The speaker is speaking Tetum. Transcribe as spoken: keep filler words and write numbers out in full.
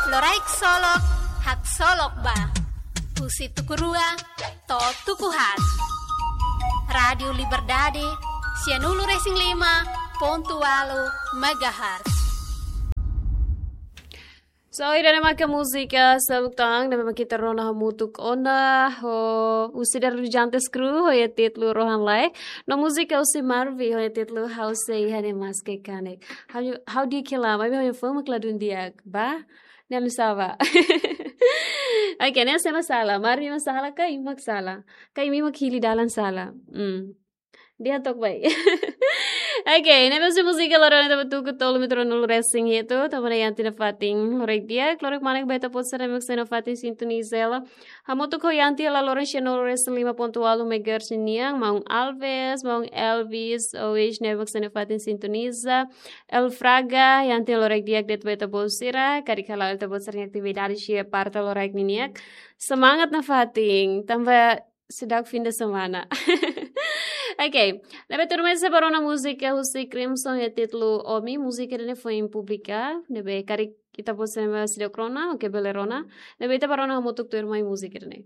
Loraik solok, haksolok ba. Husi tuku rua to'o tuku haat. Rádiu Liberdade, sianulu-resin-lima pontu ualu megahertz. So, ida-ne'e maka múzika Sabuk Tang, ne'ebé mak ita rona hamutuk ona, ho husi Darlu Jantes Crew, ho nia títulu Rohan Laek. No múzika husi Marvi, ho nia títulu Ha'u Sei Iha Ne'e Maske Kanek. Ha'u, ha'u di'ak hela, maibé ha'u-nia fó mak ladún di'ak, ba? Ne'e ami sala. Oke, ne'e sé mak sala. Marvi mak sala ka imi mak sala? Ka imi mak hili dalan sala? Hmm. Di'ak took bá. Oke, ne'e mós múzika loron ita bá tuku tolu mita ruanulu-resin-hitu, tanba Yanti nafatin. Loraik di'ak, loraik kmanek ba ita-boot sira ne'ebé mak sei nafatin sintoniza hela. Hamutuk ho Yanti hela loron sianulu-resin-lima pontu ualu megahertz nian, maun Alves, maun Elvis, Ois ne'ebé mak sei nafatin sintoniza. El Fraga, Yanti loraik di'ak de'it ba ita-boot sira, karik hala'o ita-boot sira-nia atividade iha parte loraik ninian. Semangat nafatin, tanba seidauk fim de semana. Oke, ne'ebé tuirmai ita sei bá rona múzika husi Crimson ho títulu Omi, múzika ida-ne'e foin publika, ne'ebé karik ita-boot sira ne'ebé seidauk rona, oke, bele rona. Ne'ebé ita bá rona hamutuk tuirmai múzika ida-ne'e.